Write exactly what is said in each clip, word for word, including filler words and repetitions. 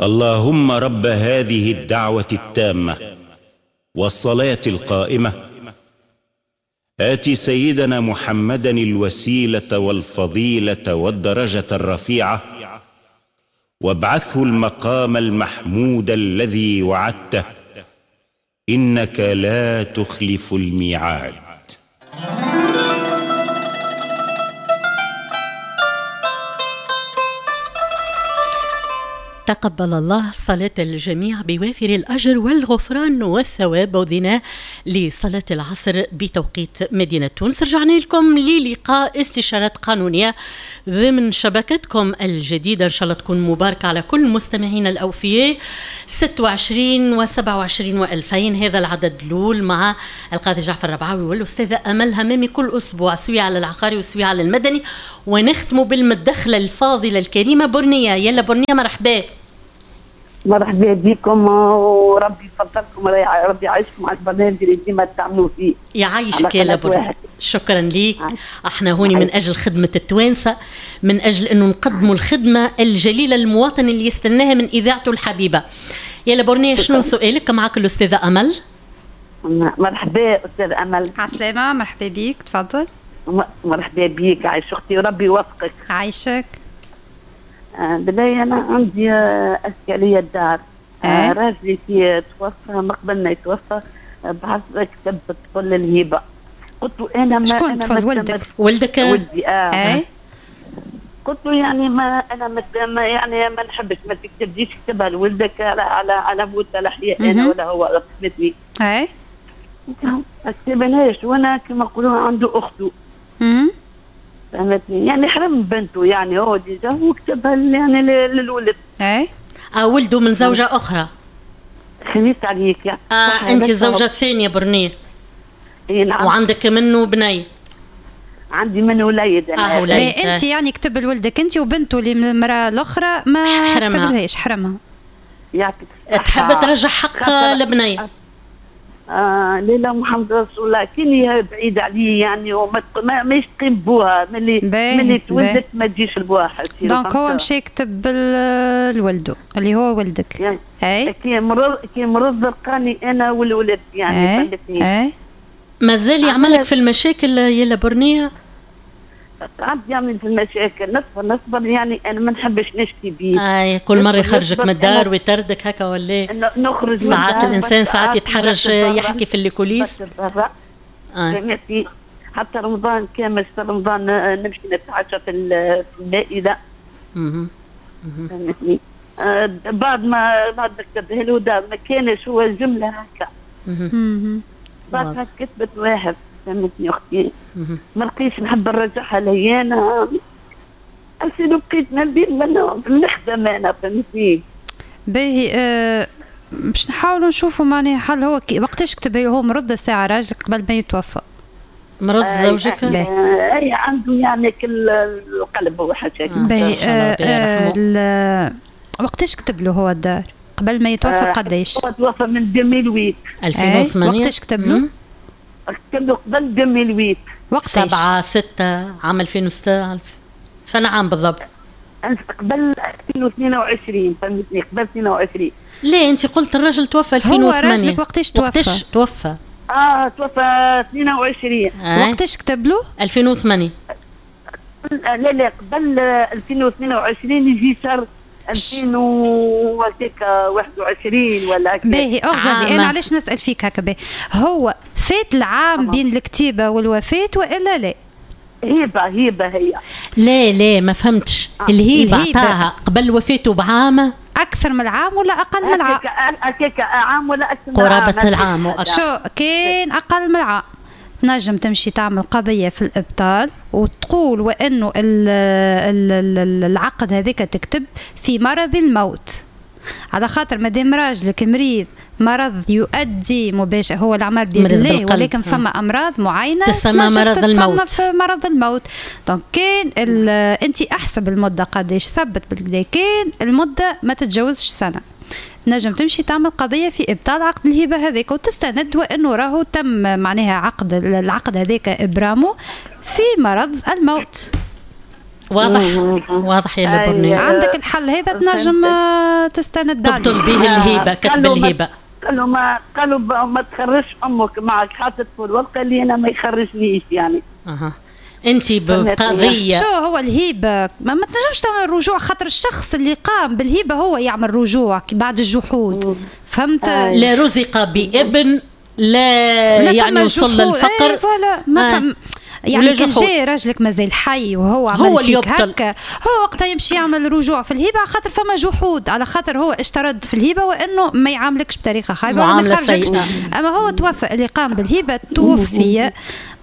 اللهم رب هذه الدعوة التامة والصلاة القائمة، آتِ سيدنا محمدا الوسيلة والفضيلة والدرجة الرفيعة، وابعثه المقام المحمود الذي وعدته، إنك لا تخلف الميعاد. تقبل الله صلاة الجميع بوافر الأجر والغفران والثواب. وذنا لصلاة العصر بتوقيت مدينة تونس. رجعنا لكم للقاء استشارات قانونية ضمن شبكتكم الجديدة، إن شاء الله تكون مباركة على كل المستمعين الأوفياء. ستة وعشرين وسبعة وعشرين وألفين هذا العدد الأول مع القاضي جعفر الربعاوي والأستاذة أمل همامي كل أسبوع، سوية على العقاري وسوية على المدني. ونختم بالمدخلة الفاضلة الكريمة برنية. يلا برنية، مرحبا. مرحبا بكم وربي يفضلكم وربي يعيشكم على البرنامج اللي ديما تعملوا فيه. يعيشك يا لبنى، شكرا ليك. احنا هوني من اجل خدمة التوانسة، من اجل انه نقدموا الخدمة الجليلة للمواطن اللي يستناها من اذاعته الحبيبة. يا لبرنية، شنو سؤالك؟ معك الاستاذة امل. مرحبا استاذ امل. عسلامة، مرحبا بيك، تفضل. مرحبا بيك، عايش اختي وربي يوفقك. عايشك. بالله انا عندي اشكالية الدار. أه؟ راجلي كي توفى، ما قبل ما يتوفى بعث كتب طفل الهبة. قلت له انا ما شكون طفل؟ ولدك؟ ولدك؟ ولدي اه, أه؟ قلت له يعني ما انا ما يعني ما نحبش، ما تكتبليش، كتبها لولدك على على على موت على حياة انا ولا هو، فهمتني؟ اي ما كتبناش، وانا كما نقولوا عنده اخته. امم فهمتني؟ يعني حرم بنته، يعني هو déjà هو كتبها يعني للولد. اي اه ولده من زوجة أخرى. خميس عليك يعني. اه أنت الزوجة الثانية برنية. اي نعم. وعندك منه بني. عندي منه وليد أنا. اه وليد. أنت يعني كتب لولدك أنت وبنته اللي من المرأة الأخرى ما كتبلهاش، حرمها. يعطيك الصحة. تحب ترجع حق البنية. آه لا محمد رسول الله، كان بعيد عليه يعني وما ماهيش تقيم بوها ملي ملي تولدت ما تجيش لبوها. donc هو مشى كتب لولده اللي هو ولدك. يعني اي كي مرض كي مرض لقاني انا والولد يعني فهمتني. اي مازال يعملك في المشاكل يا برنية؟ قعد يعمل في المشاكل، نصبر نصبر يعني انا ما نحبش نشكي بيه. اي كل مرة يخرجك من الدار ويطردك هكا ولا نخرج. ساعات الانسان ساعات يتحرج يحكي في les coulisses. فهمتي؟ حتى رمضان كامل، رمضان نمشي نتعشى في المائدة. اها فهمتني؟ آه بعد ما بعد ما كتبها له دار ما كانش هو جملة هكا. اها بعدها كتبت واحد، فهمتني اختي؟ ما لقيتش نحب نرجعها ليا انا. أصل بقيت ما بين نخدم انا، فهمتني؟ باهي آه باش نحاولوا نشوفوا معناها حل. هو وقتاش كتب؟ هو مرض الساعة راجلك قبل ما يتوفى. مرض آه زوجك؟ آه اي عنده يعني كل القلب هو حاجة. باهي آه آه وقتاش كتب له هو الدار؟ قبل ما يتوفى بقداش؟ هو توفى من ألفين وثمانية. ألفين وثمانية. وقتاش كتب له؟ كتب له قبل ألفين وثمانية. وقتاش؟ سبعة ستة عام ألفين وستة، فانا عام بالضبط؟ قبل ألفين واثنين وعشرين، فهمتني؟ قبل اثنين وعشرين. ليه انت قلت الرجل توفى ألفين وثمانية؟ هو راجلك وقتاش توفى؟ وقتاش توفى؟ اه توفى اثنين وعشرين. آه. وقتاش كتب له؟ ألفين وثمانية. لا لا قبل ألفين واثنين وعشرين يجي شهر ألفين وواحد وعشرين ولا هكا. باهي اغزلي انا علاش نسال فيك هكا؟ باهي هو فات العام بين الكتيبة والوفاه والا لا؟ هبه هبه هي. لا لا ما فهمتش. آه. الهبة عطاها قبل وفاته بعام؟ اكثر من العام ولا اقل من العام؟ هكاك عام ولا اكثر من العام؟ قرابة العام واكثر. شو كان اقل من العام تنجم تمشي تعمل قضية في الإبطال وتقول وأنه العقد هذاك تكتب في مرض الموت، على خاطر مادام راجلك مريض مرض يؤدي مباشر، هو الأعمار بيد الله، ولكن فما أمراض معينة تسمى مرض الموت. مرض الموت. donc كان أنت أحسب المدة قداش، ثبت بالكدا، كان المدة ما تتجاوزش سنة نجم تمشي تعمل قضية في إبطال عقد الهبة هذاك وتستند وأنه راهو تم معناها عقد العقد هذاك إبرامه في مرض الموت. واضح واضح يا لبرني. عندك الحل هذا تنجم تستند عليه، تبطل به الهبة، كتب الهبة. قالوا ما قالوا ما تخرجش امك معك، حاطط في الورقة اللي انا ما يخرجنيش يعني. اها انت بقضيه شو هو الهبة ما, ما تنجمش تعمل رجوع، خاطر الشخص اللي قام بالهبه هو يعمل رجوع بعد الجحود. فهمت؟ لا رزق بابن لا, لا يعني وصل للفقر. ايه voilà ما فهم يعني كان جاي راجلك مازال حي وهو عمل هو اللي هكا، هو وقتها يمشي يعمل رجوع في الهبة خاطر فما جحود، على خاطر هو اشترط في الهبة وانه ما يعاملكش بطريقة خايبة وما يخرجكش. اما هو توفى، اللي قام بالهبه توفي،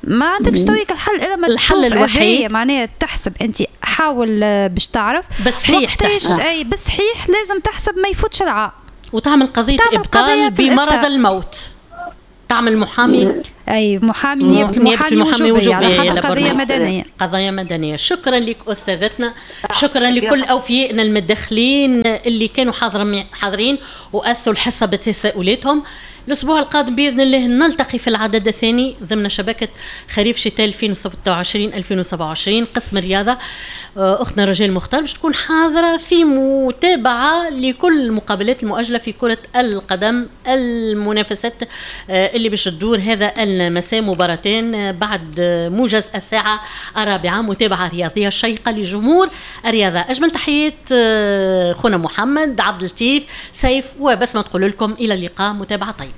ما عندكش تويك الحل الا ما الحل الوحيد معناها تحسب انت، حاول باش تعرف بصحيح تحسب. اي بصحيح لازم تحسب ما يفوتش العام، وتعمل قضية ابطال بمرض الموت، تعمل محامي. اي محامي، نيابة المحامي وجوبيه على خاطر قضية مدنية. قضايا مدنية. شكرا لك استاذتنا، شكرا لكل اوفيائنا المتدخلين اللي كانوا حاضرين واثوا الحصة بتساؤلاتهم. الأسبوع القادم بإذن الله نلتقي في العدد الثاني ضمن شبكة خريف شتاء ألفين وستة وعشرين ألفين وسبعة وعشرين قسم الرياضة. أختنا رجال مختار باش تكون حاضرة في متابعة لكل المقابلات المؤجلة في كرة القدم، المنافسات اللي باش تدور هذا المساء، مباراتين بعد موجز الساعة الرابعة، متابعة رياضية شيقة لجمهور الرياضة. أجمل تحيات خونا محمد عبد اللطيف سيف وبسمة، تقول لكم إلى اللقاء، متابعة طيبة.